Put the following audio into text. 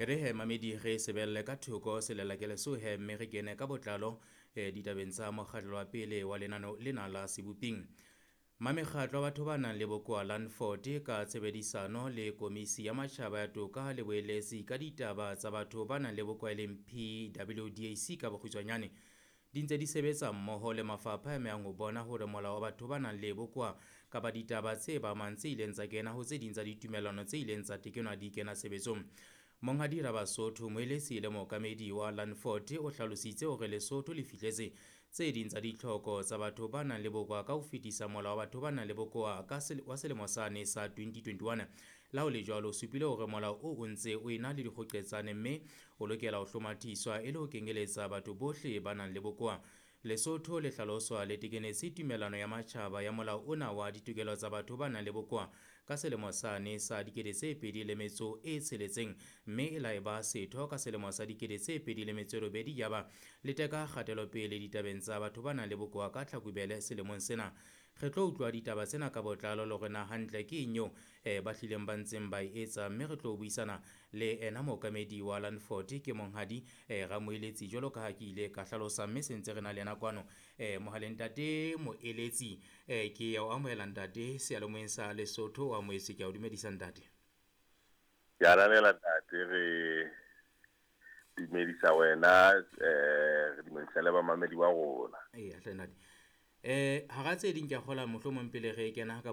E re he mamedi re sebelle ka thoko selelakele so he mme re kene ka botlalo ditabeng tsa mokgatlo wa pele wa lenano lena la seboping. Mamekgatlo wa batho ba nang le bokowa Landford ka tshebedisano le Komisi ya Matjhaba ya Toka le Boeletsi ka ditaba tsa batho ba nang le bokowa e leng PWDAC ka bokgutshwanyane di ntse di sebetsa mmoho le mafapha a amehang ho bona hore molao wa batho ba nang le bokowa kapa ditaba tse ba amang tse ileng tsa kena ho tse ding tsa ditumellano tse ileng tsa tekenwa di kena tshebetsong. Monghadi Rabasotho, moeletsi le mookamedi wa Landford, o hlalositse hore Lesotho le fihletse tse ding tsa ditlhoko tsa batho ba nang le bokowa ka ho fetisa molao wa batho ba nang le bokowa ka wa selemo sane sa 2021. La ho le jwalo, o supile hore molao o o ntse o ena le dikgoqetsane mme o lokela ho hlomathiswa e le ho kenyeletsa batho bohle ba nang le bokowa. Lesotho le hlaloswa le tekenetse tumellano ya matjhaba ya molao ona wa ditokelo tsa batho ba nang le bokowa ka selemo sane sa 2006 mme e la eba setho ka selemo sa 2008 yaba le teka kgatelopele ditabeng tsa batho ba nang le bokowa ka Tlhakubele selemong sena. Re tlo utlwa ditaba tsena ka botlalo le hore na hantle ke eng eo ba hlileng ba ntseng ba e etsa, mme re tlo buisana le ena mookamedi wa Landford ke monghadi Ramoeletsi jwalo ka ha ke ile ka hlalosa, mme se ntse re na le yena kwano mohaleng. Ntate Moeletsi, ke ya o amohela ntate seyalemoyeng sa Lesotho, o amohetse, ke a o dumedisa ntate. Ke ananela ntate, re dumedisa wena, re dumedisa le bamamedi ba rona. Eya hle ntate. Hara tse ding ke a kgola mohlomong pele re kena ka